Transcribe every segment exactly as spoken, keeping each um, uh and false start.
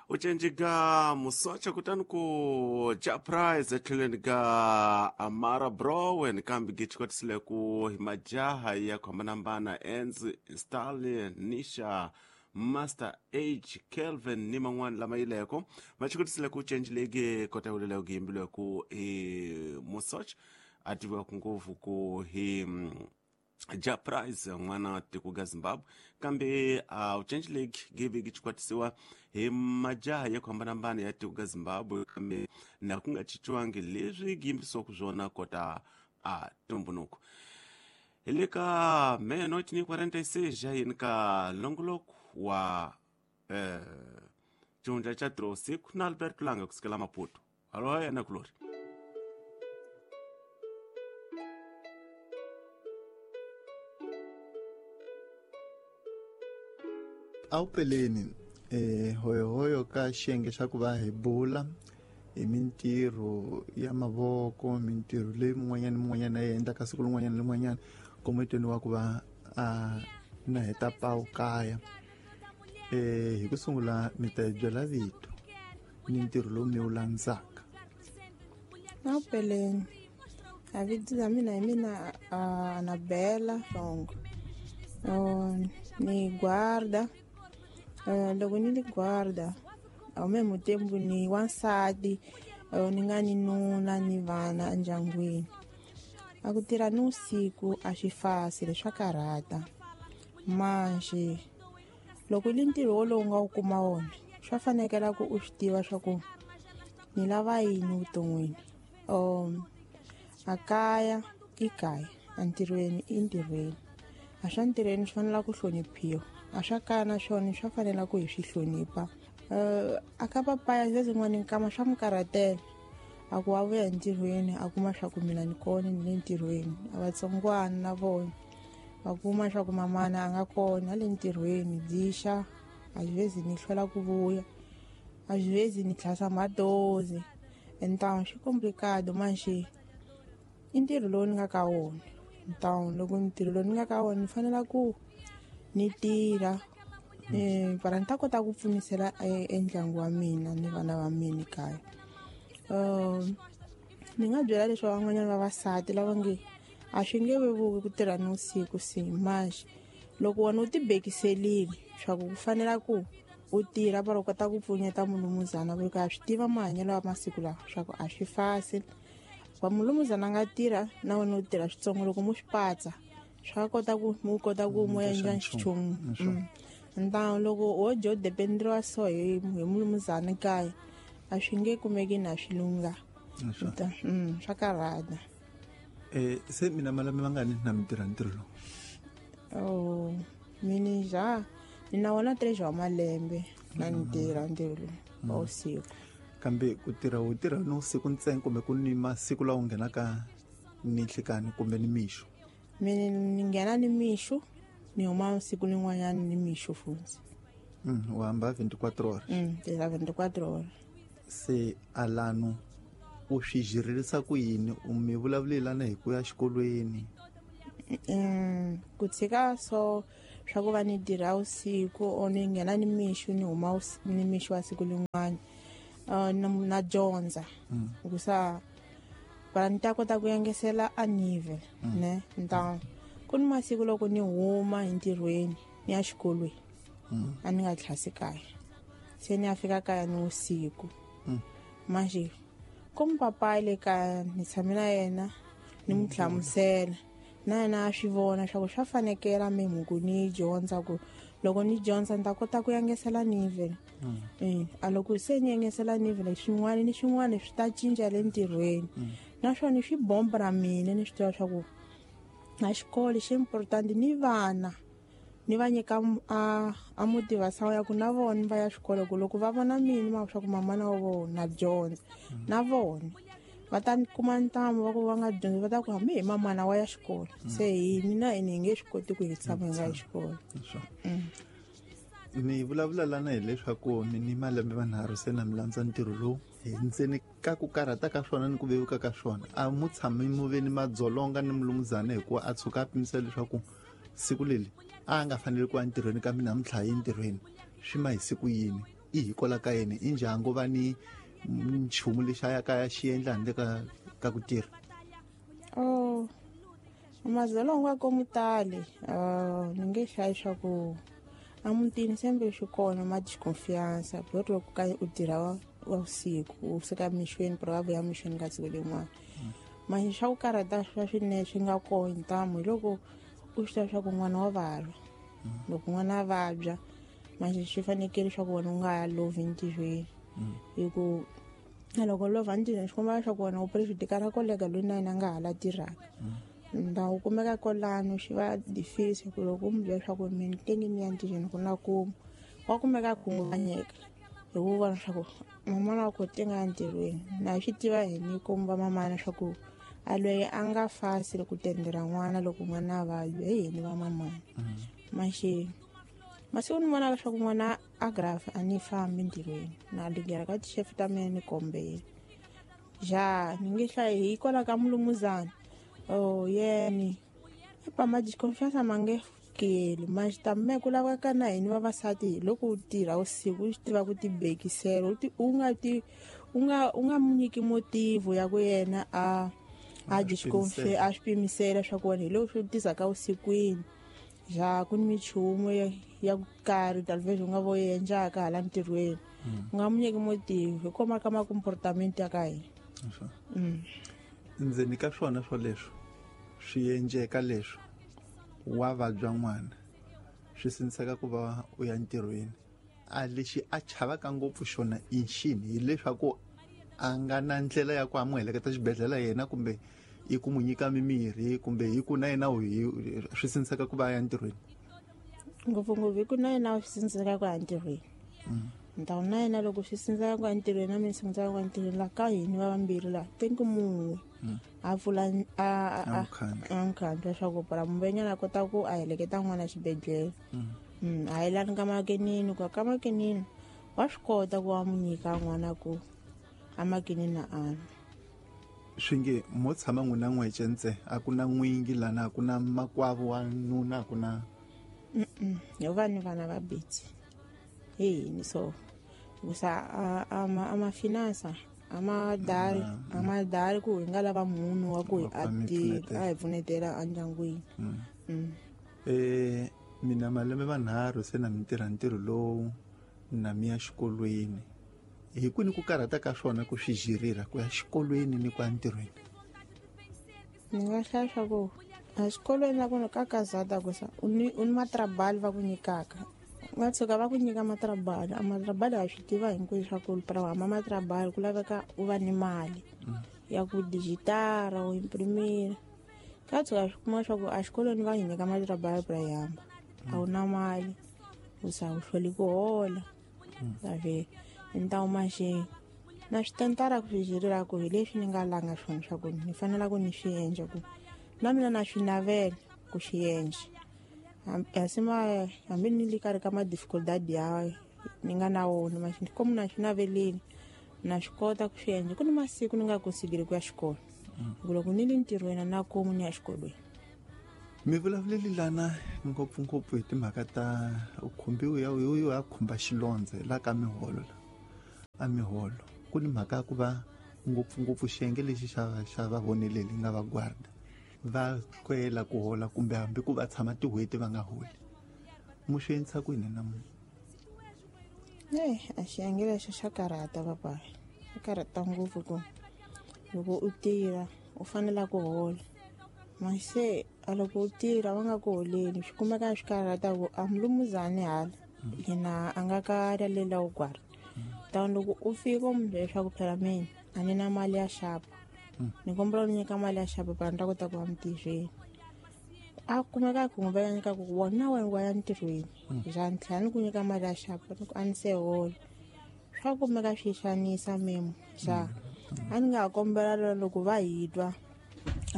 U cenjiga Musocha kutani ku Jah Prayzah etlhelweni ka Amara Brown kambe gi chikotisile ku hi majaha ya ku hambanahambana Enzi Stalin Nisha Master H Kelvin ni man'wana lama yileko va chikotisile ku change leyi kota yoleleyo ku yimbiliwe ku hi Musocha a tiviwaka ngopfu ku hi Jah Prayzah n'wana tiko ga Zimbabwe kambe a uh, change league give gi chikwatisiwa hi majaha ya ku hambanahambana ya tiko ga Zimbabwe kambe na ku nga cinciwangi leswi gi yimbisiwaka swona kota a tumbunuku hi le ka meia-noite ni quarenta e seis já yini ka longoloko wa eh, xihundla xa Trosiku na Alberto Langa kusukela Maputo alo yena kulori. Awupeleni eh hoyohoyo ka xiyenge xa ku va hi bula hi mintirho ya mavoko, mintirho leyi mun'wanyana ni mun'wanyana yi endlaka siku rin'wanyana ni rin'wanyana kometweni wa ku va a na heta pawu kaya. Eh hi ku sungula mi ta hi byela vito ni ntirho lowu mi wu landzaka. Awupeleni a vito ra mina hi mina Anabela Hlongo, ni guarda. Uh, loko ni li guarda ao mesmo tempo ni wansati, uh, ni nga ni nuna ni vana endyangwini. A ku tirha ni usiku a swi fasi leswa karhata manjhe loko li ntirho wolowo u nga wu kuma wona swa fanekela ku u swi tiva swa ku ni lava yini vuton'wini. Um a kaya i kaya, entirhweni i ntirhweni, a swa ntirhweni swi fanela ku hloniphiwa, a swa kaya na swona swa fanela ku hi swi hlonipha. Uh, a ka papaya sweswin'wana nkama swa mi karhatela a ku wa vuya entirhweni a kuma swa ku mina ni kona ni le ntirhweni, a vatsongwana na vona va kuma swa ku mamana a nga kona le ntirhweni dzixa a swi vezi ni hlwela ku vuya, a swi vezi ni tlhasa madozi então swi complicado manjhe i ntirho lowu ni nga ka wona. Então loko ntirho lowu ni nga ka wona ni fanela ku ni tirha eh para ni ta kota ku pfunisela endyangu wa mina ni vana va mina kaya. Um ni nga byela leswaku van'wanyana vavasati lava nge a swi nge vevuki ku tirha ni vusiku se manjhe loko wena u tibekiselile swa ku ku fanela ku u tirha para u kota ku pfuneta mulumuzana ku ka swi tiva mahanyelo ya masiku lawa swa ku a swi fasi. Va mulumuzana a nga tirha na wena u tirha switsongo loko mu swi patsa swa kota ku mu kota ku mu endla nchumu. Então loko wo dyo dependeriwa so hi hi mulumuzana kaya a swi nge kumeki na swi lungha swa karhata. Eh se mina malembe mangani na mi tirha ntirho lowu? Oh mina ja ni na wona três wa malembe na ni tirha ntirho lowu wa vusiku. Kambe ku tirha u tirha ni vusiku ntsena kumbe ku ni masiku lawa u nghenaka ni nhlikani kumbe ni mixo? Mina ni nghena ni mixo ni huma siku lin'wanyana ni mixo futhi. Mm, u hamba vinte e quatro horas. Mm, tirha vinte e quatro horas. Se alano u swi jiririsa ku yini u mi vulavulelana hi ku ya xikolweni? Mm, ku tshika so swa ku va ni tirha vusiku or ni nghena ni mixo ni huma ni mixo wa siku lin'wana uh, na, na dyondza mm. Hikusa para ni ta kota ku engesela a nível mm. ne então ku ni masiku loko ni huma hi ntirhweni ni ya xikolweni mm. a ni nga tlhasi kaya se ni ya fika kaya ni vusiku mm. Manjhe komu papai le kaya ni tshame na yena ni n'wi hlamusela na yena a swi vona swa ku swa fanekela mimhu ku ni dyondza ku loko ni dyondza ni ta kota ku engesela nível. Mm. Eh, a loko se ni engesela nível swin'wana ni swin'wana swi ta cinca le ntirhweni mm. Naswona swi bomba ra mina ni swi tiva swa ku a xikolo xi important ni vana ni va nyika a a motivação ya ku na vona va ya xikolo ku loko va vona mina ma swa ku mamana wa vona dyondza na vona va ta kuma ntamu va ku va nga dyondzi va ta ku hambi hi mamana wa ya xikolo se hini na hina hi nge swi koti ku hi tshama hi nga yi xikolo. Mi vulavula lana hileswaku mi ni malembe manharhu se na mi landza ntirho lowu hi ndzeni ka ku karhata ka swona ni ku vevuka ka swona a mu tshami mu ve ni madzolonga ni mulumuzana hikuva a tshuka a pimisa leswaku siku leri a nga fanele ku va ntirhweni kambe namuntlha yi ntirhweni swi ma hi siku yini i hikola ka yena i njhango va ni nchumu lexi a ya kaya xi endla handle ka ka ku tirha oh madzolonga ko mutale uh, ni nge hlayi swa ku a mutini sembe swi kona ma desconfiança por loko ka u tirha wa vusiku u suka mixweni pero va vuya mixweni ka siku lin'wana manje swa ku karhata swa swinene swi nga kona ntamu hi loko u swi tiva swa ku n'wana wa vabya loko n'wana a vabya manje swi fanekele swa ku wena u nga ha lovhi ntirhweni hi ku na loko lovha ntirhweni swi komba leswaku wena u prejudicana kolega loyi na yena a nga ha la tirhaka ndhawu kumeka kolano swi va difficile ku loko u mi byela leswaku mina ni tenge ni ya ntirhweni ku na kuma wa kumeka khunguvanyeka hi ku vona leswaku mamana wa ku tenga ntirhweni na swi tiva hi ni komba mamana leswaku a loyi a nga fasi ku tendela n'wana loko n'wana a vabya hi hini va mamana maxi masiku ni vona leswaku n'wana a grave a ni fambi ntirhweni na ligera ka ti-chef ta mina ni kombela ja ni nge hlayi hikwalaho ka mulumuzana oh yeni epa ma desconfiança ma nge fikeli manje ta me ku laveka na hini vavasati hi loko u tirha vusiku u swi tiva ku tibekisela u ti u nga ti u nga u nga mu nyiki motivo ya ku yena a a desconfi a swi pimisela swa ku wena hi loko swi tisaka vusikwini ja ku ni michumu ya ya ku karhi talvez u nga vo endlaka hala ntirhweni u nga mu nyiki motivo hi koma ka ma-comportamento ya ka hina mm. Ndzeni ka swona swoleswo swi endleka leswo wa vabya n'wana swi sindziseka ku va u ya ntirhweni a lexi a chavaka ngopfu xona i nxini hileswaku a nga na ndlela ya ku amuheleketa xibedhlele yena kumbe i ku n'wi nyika mimirhi kumbe hi ku na yena swi sindziseka ku va a ya ntirhweni ngopfungopfu hi ku na yena swi sindziseka ku ya ntirhweni ndhawu na yena loko swi sindziseka ku ya ntirhweni na mina sindziseka ku ya ntirhweni laha ka hini va vambirhi laha tenki mun'we a pfula a a a mukhandlu leswaku para mumbenyana a kota ku a heleketa n'wana xibedhlele a yelani ka makenini ku ka makenini wa swi kota ku va mu nyika n'wana ku a makenini a nwa swi nge mo tshama n'wina n'wece ntse a ku na n'wingi lana a ku na makwavo wa nuna a ku na hi va ni vana va bitsi hi yini so hikusa a ma a ma finansa a ma dari a ma dari ku hi nga lava munhu wa ku hi a tirha a hi pfunetela endyangwini eh mina malembe manharhu se na mi tirha ntirho lowu na mi ya xikolweni hi kwini ku karhata ka swona ku swi jirira ku ya xikolweni ni ku ya ntirhweni ni nga hlaya swa ku a xikolweni la ku ka kazata ku sa u ni u ni matrabali va ku nyikaka nga tshuka va ku nyika matrabali a matrabali ha swi tiva hinkwenu swa ku pra hamba matrabali ku laveka u va ni mali ya ku digitara u imprimira ka tshuka swi kuma swa ku a xikolweni va hi nyika matrabali pra hi hamba a wu na mali u sa u hlweli ku hola ave ntawu maxeni na swi tentara ku swi jirira ku hi leswi ni nga langa swona swa ku ni fanela ku ni swi endla ku na mina na swi navela ku swi endla asi ma hambi ni li karhi ka ma-difficultad ya ni nga na wona maxi komu na swi navelile na swi kota ku swi endla ku ni masiku ni nga konsigiri ku ya xikolo hi ku loko ni li ntirhweni na komu ni ya xikolweni mi vulavuleli lana ngopfungopfu hi timhaka ta u khumbiwe ya ya khumba xilondze la ka miholo la a miholo ku ni mhaka ya ku va ngopfungopfu xiyenge lexi xa xa vavoneleli nga va guarda va kwela ku hola kumbe hambi ku va tshama tin'hweti va nga holi mu swi endlisa ku yini namuntlha e a xiyenge lexo xa karhata papa xa karhata ngopfu ku loko u tirha u fanela ku hola mase a loko u tirha va nga ku holeli swi kumeka swi karhata ku a mulumuzani hala yena a nga ka lela u gwara tani loko u fika u mu byela leswaku phela mina a ni na mali ya xapa ni kombela u nyika mali ya xapa phela ni ta kota ku va mintirhweni a kumeka khunguvanyeka ku wona wena wa ya ntirhweni ja ni tlhela ni ku nyika mali ya xapa ni ku a ni se hola swa kumeka swi xanisa memo xa a ni nga ha kombela loko va hi twa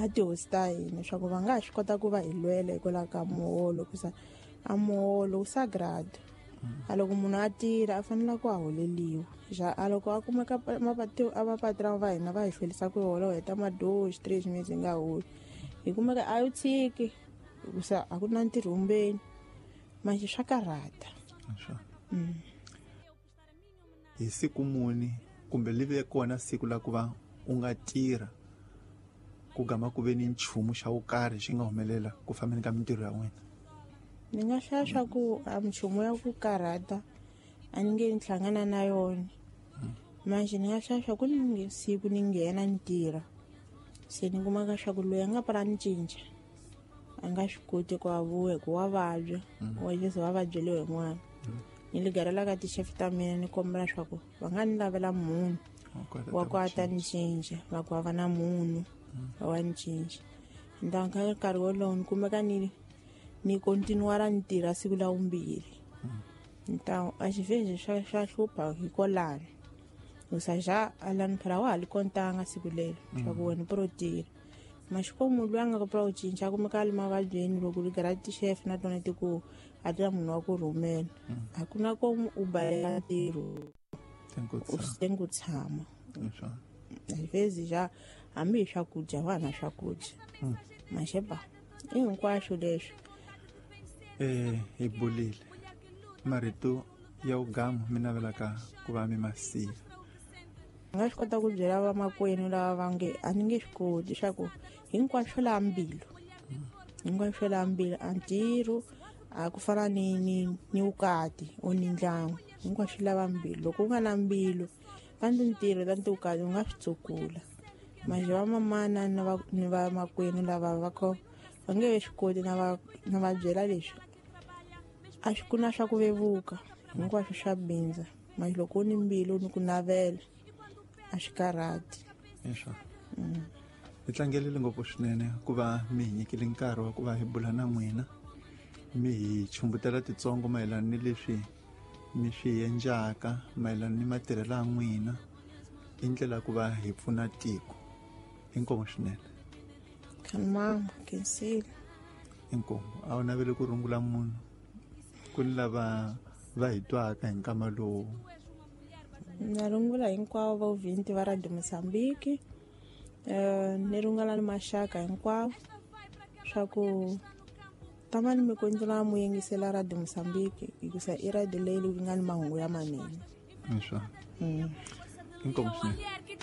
a tihosi ta hina leswaku va nga ha swi kota ku va hi lwela hikwalaho ka muholo hikusa a muholo wu sagrado a loko munhu a tirha a fanele ku a holeliwa ja a loko a kumeka a vapatrão va hina va hi hlwerisa ku hola u heta ma-dois três meses hi nga holi hi kumeka a wu tshiki hikusa a ku na ntirho wumbeni manje swa karhata. Hi siku muni kumbe li ve kona siku la ku va u nga tirha ku gama ku ve ni nchumu xa wo karhi xi nga humelela ku fambeni ka mintirho ya wena? Ni nga hlaya swa ku a minchumu ya ku karhata a ni nge ni hlangana na yona. Manje ni nga hlaya swa ku ni nge siku ni nghena ni tirha se ni kumaka swa ku loyi a nga pfala ni cinca a nga swi koti ku a vuya ku wa vabya wa Yesu wa vabyeliwe hi n'wana. Ni ligarela ka ti-chef ta mina ni kombela swa ku va nga ni lavela munhu wa ku a ta ni cinca, va ku a va na munhu wa ni cinca. Nta ka nkarhi wolowo ni kumeka ni ni continuara ni tirha siku la vumbirhi. Nta a xivhenje swa swa hlupha hikwalano. Usaja alani phela wa ha li kontanga siku lelo swa ku wena pro tirha. Maxikomu loyi a nga ku pro cinca kumeka a li mavabyeni loko ligara ti-chef na tona ti ku a ti na munhu wa ku rhumela. A ku na komu u baleka ntirho u swi ku tshama. Vezi ja hambi hi swakudya wa na swakudya. Maxeba i hinkwaswo leswi. Eh hi bulile marito ya ugamu mi navelaka ku va mi masiya. Nga swi kota ku byela vamakwenu lava va nge a ni nge swi koti swa ku hinkwaswo laha mbilu, hinkwaswo laha mbilu a ntirho a ku fana ni ni ni vukati or ni ndyangu hinkwaswo lava mbilu. Loko u nga na mbilu tanti ntirho tanti vukati u nga swi tsukula. Manje va mamana na va ni vamakwenu lava va kho va nge swi koti na va na va byela leswi a swi ku na swa ku vevuka hinkwaswo swa bindza. Manje loko u ni mbilu ni ku navela a swi karhati. Leswo hi tlangelile ngopfu swinene ku va mi hi nyikile nkarhi wa ku va hi bula na n'wina, mi hi chumbutela titsongo mayelana ni leswi mi swi endlaka, mayelana ni matirhelo ya n'wina i ndlela ku va hi pfuna tiko. Inkomu swinene. Khanmambo khensile. Inkomu. A wu naveli ku rungula munhu ku ni lava va hi twaka hi nkama lowu? Na rungula hinkwavo va uvinti va Radio Mozambique. Eh ni rungula ni maxaka hinkwavo swa ku tamani mi kondlela mu yingisela Radio Mozambique hikusa i radio leyi yi nga ni mahungu ya manene. Leswo. Inkomu swinene.